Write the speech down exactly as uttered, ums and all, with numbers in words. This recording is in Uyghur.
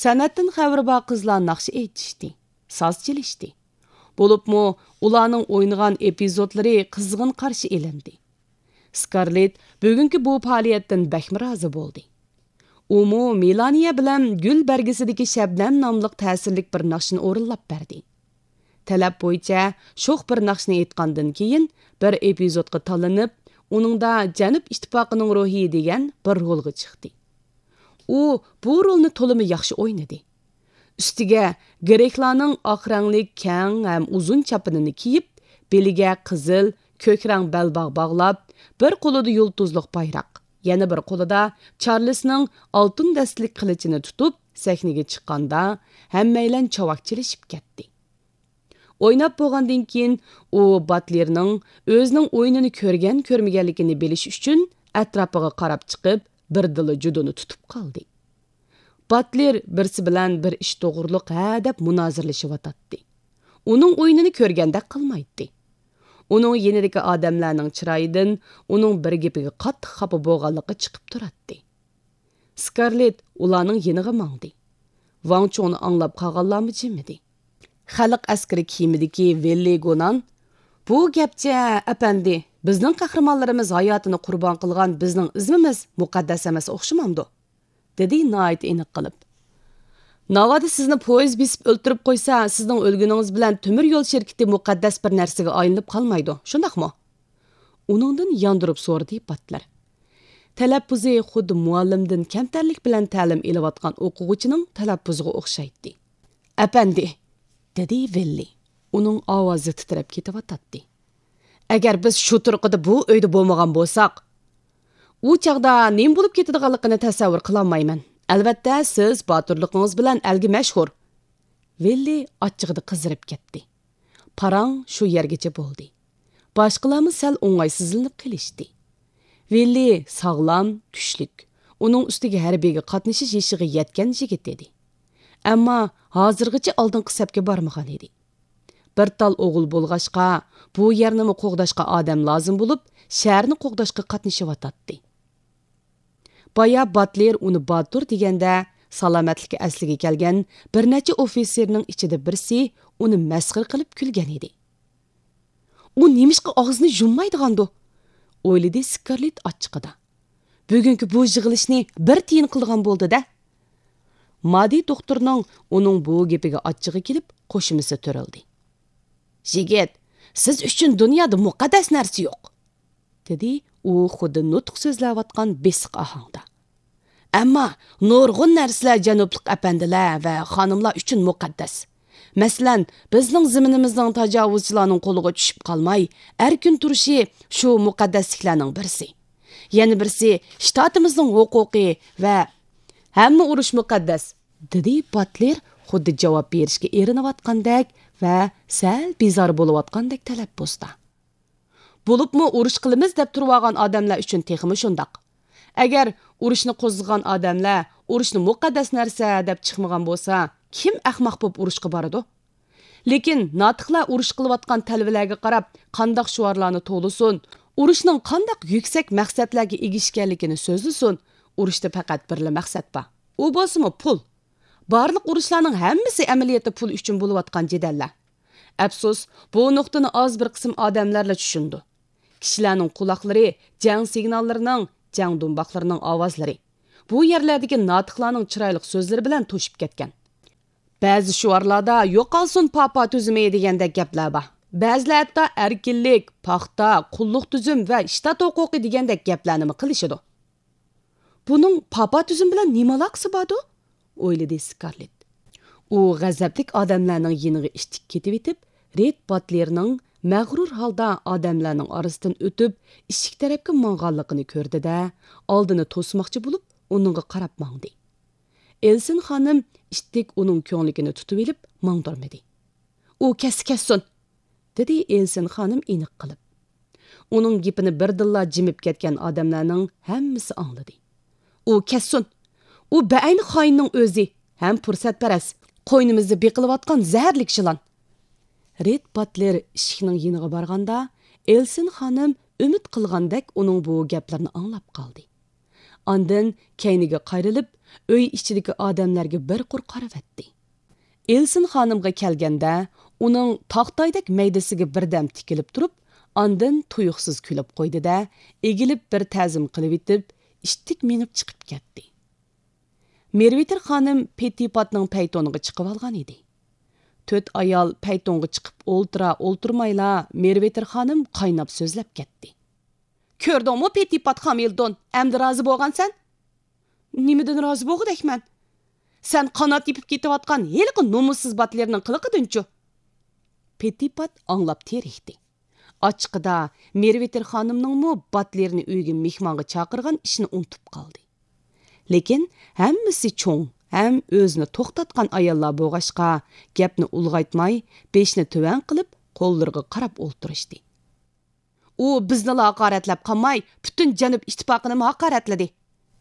سەنئەتتىن خەۋىرى بار قىزلار ناخشا ئېيتىشتى، ساز چېلىشتى. بولۇپمۇ ئۇلارنىڭ ئوينىغان ئېپىزودلىرى قىزغىن قارشى ئېلىندى. سكارلېت بۈگۈنكى بۇ پائالىيەتتىن بەكمۇ رازى بولدى. ئۇمۇ مېلانىيە بىلەن گۈل بەرگىسىدىكى شەبنەم ناملىق تەسىرلىك بىر ناخشىنى ئورۇنلاپ بەردى. تەلەپ بويىچە شوخ بىر ناخشىنى ئېيتقاندىن كېيىن، بىر ئېپىزودقا تاللىنىپ، ئۇنىڭدا جەنۇب ئىتتىپاقىنىڭ روھى دېگەن بىر رولغا چىقتى. ئۇ بۇ رولنى تولىمۇ ياخشى ئوينىدى. ئۈستىگە گرېكلارنىڭ ئاق رەڭلىك كەڭ ھەم ئۇزۇن چاپىنىنى كىيىپ، بېلىگە قىزىل، كۆك رەڭ بەلباغ باغلاپ، بىر قولىدا يۇلتۇزلۇق بايراق، يەنە بىر قولىدا چارلىسنىڭ ئالتۇن دەستىلىك قىلىچىنى تۇتۇپ، سەھنىگە چىققاندا، ھەممەيلەن چاۋاك چېلىشىپ كەتتى. ئويناپ بولغاندىن كېيىن، ئۇ باتلېرنىڭ ئۆزىنىڭ ئويۇنىنى كۆرگەن-كۆرمىگەنلىكىنى بىلىش ئۈچۈن ئەتراپىغا قاراپ چىقىپ، بىردىنلا جۇدۇنى تۇتۇپ قالدى. باتلېر بىرسى بىلەن بىر ئىش توغرۇلۇق ھە دەپ مۇنازىرىلىشىۋاتاتتى. ئۇنىڭ ئويۇنىنى كۆرگەندەك قىلمايتتى. ئۇنىڭ يېنىدىكى ئادەملەرنىڭ چىرايىدىن ئۇنىڭ بىر گېپىگە قاتتىق خاپا بولغانلىقى چىقىپ تۇراتتى. سكارلېت ئۇلارنىڭ يېنىغا ماڭدى. ۋاڭ چۇڭنى ئاڭلاپ قالغانلارمۇ جىمىدى. خەلق ئەسكىرى كىيىمىدىكى ۋېللى گونان، «بۇ گەپچە، ئەپەندى، بىزنىڭ قەھرىمانلىرىمىز ھاياتىنى قۇربان قىلغان بىزنىڭ ئىزمىمىز مۇقەددەس ئەمەس ئوخشىمامدۇ؟» دېدى ناھايىتى ئېنىق قىلىپ. «ناۋادا سىزنى پويىز بېسىپ ئۆلتۈرۈپ قويسا، سىزنىڭ ئۆلگىنىڭىز بىلەن تۆمۈر يول شىركىتى مۇقەددەس بىر نەرسىگە ئايلىنىپ قالمايدۇ، شۇنداقمۇ؟» ئۇنىڭدىن ياندۇرۇپ سورىدى باتلېر. تەلەپپۇزى خۇددى مۇئەللىمدىن كەمتەرلىك بىلەن تەلىم ئېلىۋاتقان ئوقۇغۇچىنىڭ تەلەپپۇزىغا ئوخشايتتى. «ئەپەندى!» دېدى ۋىللى. ئۇنىڭ ئاۋازى تىترەپ كېتىۋاتاتتى. «ئەگەر بىز شۇ تۇرقىدا بۇ ئۆيدە بولمىغان بولساق، ئۇ چاغدا نېمە بولۇپ كېتىدىغانلىقىنى تەسەۋۋۇر قىلالمايمەن. ئەلۋەتتە، سىز باتۇرلۇقىڭىز بىلەن ئەلگە مەشھۇر.» ۋىللى ئاچچىقىدا قىزىرىپ كەتتى. پاراڭ شۇ يەرگىچە بولدى. باشقىلارمۇ سەل ئوڭايسىزلىنىپ قېلىشتى. ۋىللى ساغلام، كۈچلۈك، ئۇنىڭ ئۈستىگە ھەربىيگە قاتنىشىش يېشىغا يەتكەن يىگىت ئىدى. ئەمما ھازىرغىچە ئالدىنقى سەپكە بارمىغان ئىدى. بىر تال ئوغۇل بولغاچقا، بۇ يەرنىمۇ قوغداشقا ئادەم لازىم بولۇپ، شەھەرنى قوغداشقا قاتنىشىۋاتاتتى. بايا باتلېر ئۇنى باتۇر دېگەندە، سالامەتلىكى ئەسلىگە كەلگەن بىر نەچچە ئوفىتسېرنىڭ ئىچىدە بىرسى ئۇنى مەسخىرە قىلىپ كۈلگەن ئىدى. «ئۇ نېمىشقا ئاغزىنى يۇممايدىغاندۇ؟» ئويلىدى سكارلېت ئاچچىقىدا. «بۈگۈنكى بۇ يىغىلىشنى بىر تىيىن قىلىدىغان بولدى-دە.» مادى دوختۇرنىڭ ئۇنىڭ بۇ گېپىگە ئاچچىقى كېلىپ، قوشۇمىسى تۆرەلدى. «يىگىت، سىز ئۈچۈن دۇنيادا مۇقەددەس نەرسە يوق.» دېدى ئۇ خۇددى نۇتۇق سۆزلەۋاتقان بېسىق ئاھاڭدا. «ئەمما نۇرغۇن نەرسىلەر جەنۇبلۇق ئەپەندىلەر ۋە خانىملار ئۈچۈن مۇقەددەس. مەسىلەن، بىزنىڭ زېمىنىمىزنىڭ تاجاۋۇزچىلارنىڭ قولىغا چۈشۈپ قالماي، ئەركىن تۇرۇشى شۇ مۇقەددەسلىكلەرنىڭ بىرسى. يەنە بىرسى، شتاتىمىزنىڭ ھوقۇقى ۋە...» «ھەممە ئۇرۇش مۇقەددەس.» دېدى باتلېر خۇددى جاۋاب بېرىشكە ئېرىنىۋاتقاندەك ۋە سەل بىزار بولۇۋاتقاندەك تەلەپپۇزدا. «بولۇپمۇ ئۇرۇش قىلىمىز دەپ تۇرۇۋالغان ئادەملەر ئۈچۈن تېخىمۇ شۇنداق. ئەگەر ئۇرۇشنى قوزغىغان ئادەملەر ئۇرۇشنى مۇقەددەس نەرسە دەپ چىقمىغان بولسا، كىم ئەخمەق بولۇپ ئۇرۇشقا بارىدۇ؟ لېكىن ناتىقلار ئۇرۇش قىلىۋاتقان تەلۋىلەرگە قاراپ قانداق شوئارلارنى توۋلىسۇن، ئۇرۇشنىڭ قانداق يۈكسەك مەقسەتلەرگە ئىگە ئىكەنلىكىنى سۆزلىسۇن، ئۇرۇشتا پەقەت بىرلا مەقسەت بار. ئۇ بولسىمۇ پۇل. بارلىق ئۇرۇشلارنىڭ ھەممىسى ئەمەلىيەتتە پۇل ئۈچۈن بولۇۋاتقان جېدەللەر. ئەپسۇس، بۇ نۇقتىنى ئاز بىر قىسىم ئادەملەرلا چۈشىنىدۇ. كىشىلەرنىڭ قۇلاقلىرى جەڭ سىگناللىرىنىڭ، جەڭ دۇمباقلىرىنىڭ ئاۋازلىرى، بۇ يەرلەردىكى ناتىقلارنىڭ چىرايلىق سۆزلىرى بىلەن توشۇپ كەتكەن. بەزى شوئارلاردا «يوقالسۇن پاپا تۈزۈمى» دېگەندەك گەپلەر بار. بەزىلەر ھەتتا «ئەركىنلىك، پاختا، قۇللۇق تۈزۈم ۋە شتات ھوقۇقى» دېگەندەك گەپلەرنىمۇ قىلىشىدۇ. «بۇنىڭ پاپا تۈزۈم بىلەن نېمە ئالاقىسى باردۇ؟» ئويلىدى سكارلېت. ئۇ غەزەپلىك ئادەملەرنىڭ يېنىغا ئىتتىك كېتىۋېتىپ، رېد باتلېرنىڭ مەغرۇر ھالدا ئادەملەرنىڭ ئارىسىدىن ئۆتۈپ، ئىشىك تەرەپكە ماڭغانلىقىنى كۆردى-دە، ئالدىنى توسماقچى بولۇپ، ئۇنىڭغا قاراپ ماڭدى. ئېلسىن خانىم ئىتتىك ئۇنىڭ كۆڭلىكىنى تۇتۇۋېلىپ ماڭدۇرمىدى. «ئۇ كەتسە كەتسۇن!» دېدى ئېلسىن خانىم ئېنىق قىلىپ. ئۇنىڭ گېپىنى بىردىنلا جىمىپ كەتكەن ئادەملەرنىڭ ھەممىسى ئاڭلىدى. «ئۇ كەتسۇن! ئۇ بەئەينى خائىننىڭ ئۆزى ھەم پۇرسەتپەرەس، قوينىمىزدا بېقىلىۋاتقان زەھەرلىك يىلان!» رېد باتلېر ئىشىكنىڭ يېنىغا بارغاندا، ئېلسىن خانىم ئۈمىد قىلغاندەك ئۇنىڭ بۇ گەپلىرىنى ئاڭلاپ قالدى. ئاندىن كەينىگە قايرىلىپ، ئۆي ئىچىدىكى ئادەملەرگە بىر قۇر قارىۋەتتى. ئېلسىن خانىمغا كەلگەندە، ئۇنىڭ تاختايدەك مەيدىسىگە بىردەم تىكىلىپ تۇرۇپ، ئاندىن تۇيۇقسىز كۈلۈپ قويدى-دە، ئېگىلىپ بىر تەزىم قىلىۋېتىپ، ئىتتىك مېڭىپ چىقىپ كەتتى. مېرۋېتىر خانىم پېتىپاتنىڭ پەيتونىغا چىقىۋالغان ئىدى. تۆت ئايال پەيتونغا چىقىپ ئولتۇرا ئولتۇرمايلا، مېرۋېتىر خانىم قايناپ سۆزلەپ كەتتى. كۆردۈڭمۇ، پېتىپات خامىلدون، ئەمدى رازى بولغانسەن؟ نېمىدىن رازى بولغۇدەكمەن؟ سەن قانات يېپىپ كېتىۋاتقان ھېلىقى نومۇسسىز باتلېرنىڭ قىلىقىدىنچۇ؟ پېتىپات ئاڭلاپ تېرىكتى. ئاچچىقىدا مېرۋېتىر خانىمنىڭمۇ باتلېرنى ئۆيگە مېھمانغا چاقىرغان ئىشىنى ئۇنتۇپ قالدى. لېكىن ھەممىسى چوڭ ھەم ئۆزىنى توختاتقان ئاياللار بولغاچقا، گەپنى ئۇلغايتماي، بېشىنى تۆۋەن قىلىپ، قوللىرىغا قاراپ ئولتۇرۇشتى. ئۇ بىزنىلا ھاقارەتلەپ قالماي، پۈتۈن جەنۇب ئىتتىپاقىنىمۇ ھاقارەتلىدى.